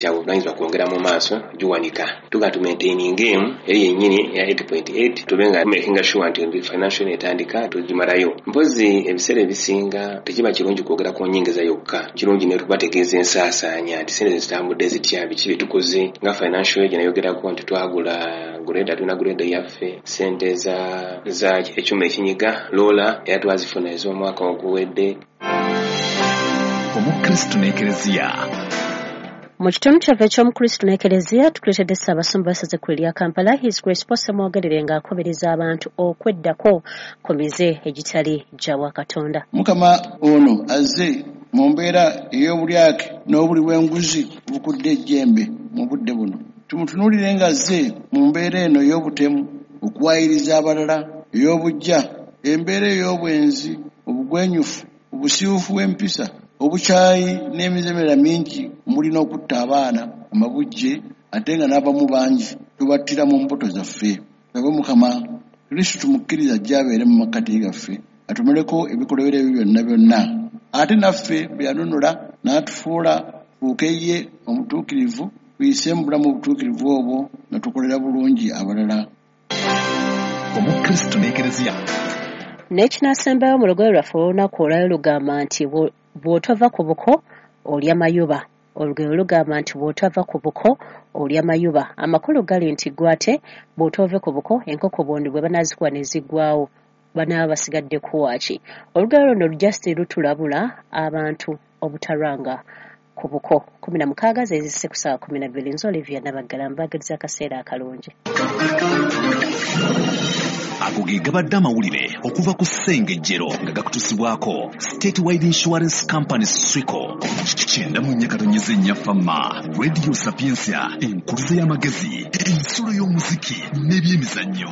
Kyabuvunanyizibwa kwongera mu maaso giwanika tuga tumaintaininga emu eri yennyini eya 8.8, tube nga makinga sure nti financial etandika tugimalayo. Mpozi ebiseera ebisinga tekiba kirungi kwogera ku nyingiza yokka, kirungi ne tubategeeza ensaasaanya nti sente zitambudde zitya, biki bye tukoze. Nga financial gye nayogerako nti twagula grader, tulina grader yaffe, sente za ekyuma ekinyiga loola era twazifuna ez'omwaka oguwedde. Omukristu n'Ekereziya. Mu kitundu kyaffe eky'Omukristu n'Ekereziya, tukuleetedde Ssaabasumba w'essaza ekkulu erya Kampala, His Grace Paul Ssemwogerere, ng'akubiriza abantu okweddako ku mize egitali gya bwakatonda. Mukama ono azze mu mbeera ey'obulyake n'obuli bw'enguzi obukudde ejjembe mu budde buno. Tumutunuulire ng'azze mu mbeera eno ey'obutemu, okuwaayiriza abalala, ey'obuggya, embeera ey'obwenzi, obugwenyufu, obusiiwuufu bw'empisa, obukyayi n'emize emirala mingi omuli n'okutta abaana amabujje, ate nga n'abamu bangi tubattira mu mbuto zaffe. Tusabe Mukama Kristo tumukkirize ajje abeere mu makkati gaffe, atumaleko ebikolobero ebyo byonna byonna. Ate naffe bwe yanunula n'atufuula tufuuke ye omutuukirivu, tuyise mu bulamu obutuukirivu obwo nga tukolera bulungi abalala. Omukristu n'Ekereziya. N'ekinaasembayo mu lugoye lwaffe olunaku olwayo lugamba nti bw'otova ku buko olya mayuba. Olugero lugamba nti bw'otava ku buko olya mayuba. Amakulu gali nti ggwe ate bw'otoove ku buko, enkoko bondi bwe banaazikuba ne ziggwaawo banaaba basigadde kuwaaki. Olugero luno just lutulabula abantu obutalwanga ku buko. 16 zezisse ku ssaawa 12. Nze Olivia Nabaggala, mbaagaliza akaseera akalungi. Ago ge gabadde amawulire okuva ku Ssengejjero nga gakutusibwako Statewide Insurance Company Swico. 94.4 Fama Radio Sapientia, enkuluze y'amagezi, ensulo y'omuziki n'ebyemizannyo.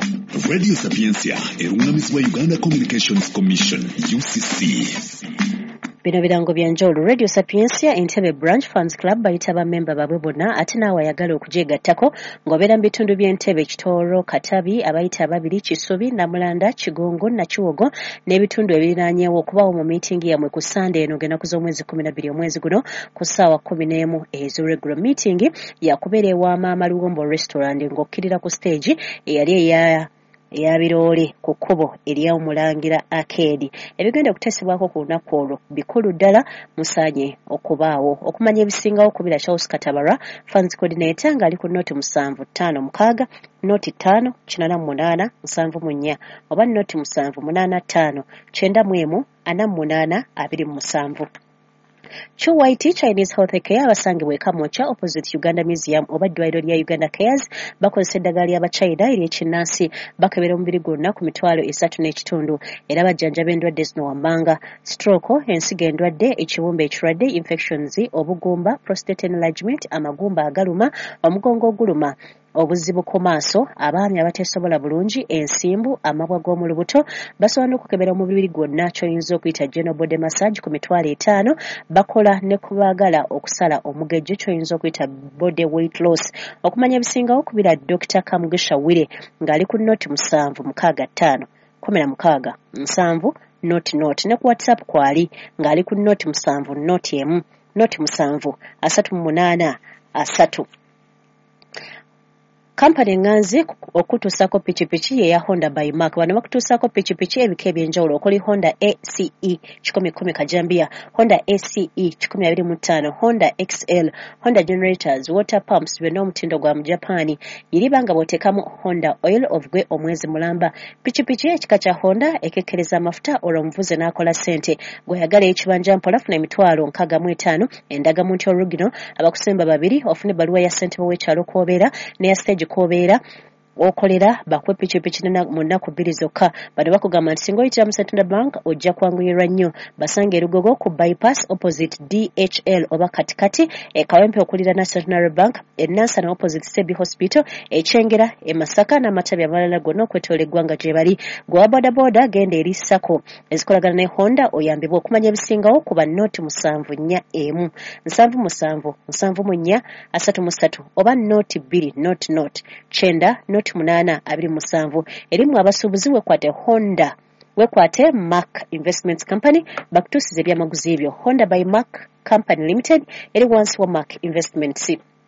Radio Sapientia eruŋŋamizibwa Uganda Communications Commission, UCC. Bino birango bya njawulo. Radio Sapientia Entebbe Branch Fans Club bayita bammemba baabwe bonna, ate naawe ayagala okugyegattako ng'obeera mu bitundu by'Entebbe, Kitooro, Katabi, abayita ababiri, Kisubi, Namulanda, Kigongo, Nakiwogo n'ebitundu ebiriraanyeewo, okubaawo mu miitingi yammwe ku Sande eno ng'ennaku z'omwezi 12 omwezi guno ku ssaawa 11 ez'olweggulo. Miitingi yakubeera ewa Maama Luwombo Restaurant ng'okkirira ku stage eyali eya Biroole ku kkubo ery'Omulangira Arcade. Ebigenda okuteesebwako ku lunaku olwo bikulu ddala, musaanye okubaawo. Okumanya ebisingawo kubira Charles Katabara, Funds Coordinator, ng'ali ku 0756 05 88 74 oba 0785 91 48 27. QYT Chinese Health Care abasangibwa e Kamwokya opposite Uganda Museum oba eddwaliro lya Uganda Cares bakozesa eddagala ly'Abachina ery'ekinnansi, bakebera omubiri gwonna ku 3,500 era bajjanjaba endwadde zino wammanga: stroke, ensigo endwadde, ekibumba ekirwadde, infections, obugumba, prostate enlargement, amagumba agaluma, omugongo oguluma, obuzibu ku maaso, abaami abateesobola bulungi, ensimbu, amabwa g'omu lubuto. Basobola n'okukebera omubiri gwonna ky'oyinza okuyita general body massage ku 500,000. Bakola ne ku baagala okusala omugejjo ky'oyinza okuyita body weight loss. Okumanya ebisingawo kubira Dr. Kamugisha Wire ng'ali ku 0765 16 70 00, ne ku WhatsApp kwali ng'ali ku 07 01 07 38 30. Kampani eŋŋanzi okutuusaako pikipiki ye ya Honda by Mark. Bano bakutuusaako pikipiki ebika eby'enjawulo okuli Honda ACE 110 Kajambiya, Honda ACE 125, Honda XL, Honda generators, water pumps, byonna omutindo gwa mu Japan. Yiriba nga bw'oteekamu Honda oil ovugwe omwezi mulamba. Pikipiki ekika kya Honda ekekkereza amafuta olwo omuvuzi n'akola ssente. Gw'oyagala ekibanja mpola funa 65,000, endagamuntu orugino, abakusemba babiri, ofune ebbaluwa ya ssentebe w'ekyalo kw'obeera n'eya stage kw'obeera okolera, bakuwe pikipiki mu nnaku 2 zokka. Bano bakugamba nti singa oyitira mu Centenary Bank ojja kwanguyirwa nnyo. Basanga e Lugogo ku bypass opposite DHL oba katikati e Kawempe okuliraana Centenary Bank, e Nansana opposite Sebi Hospital, e Kyengera, e Masaka n'amatabi amalala gonna okwetoola eggwanga gye bali. Gwe wa bodaboda genda eri SACCO ezikolagana ne Honda oyambibwe. Okumanya ebisingawo kuba 0741 77 74 33 oba 02 00 90 08 27. Erimu abasuubuzi wekwate Honda, wekwate Mark Investments Company bakutuusiza ebyamaguzi ebyo. Honda by Mark Company Limited eri wansi wa Mark Investments.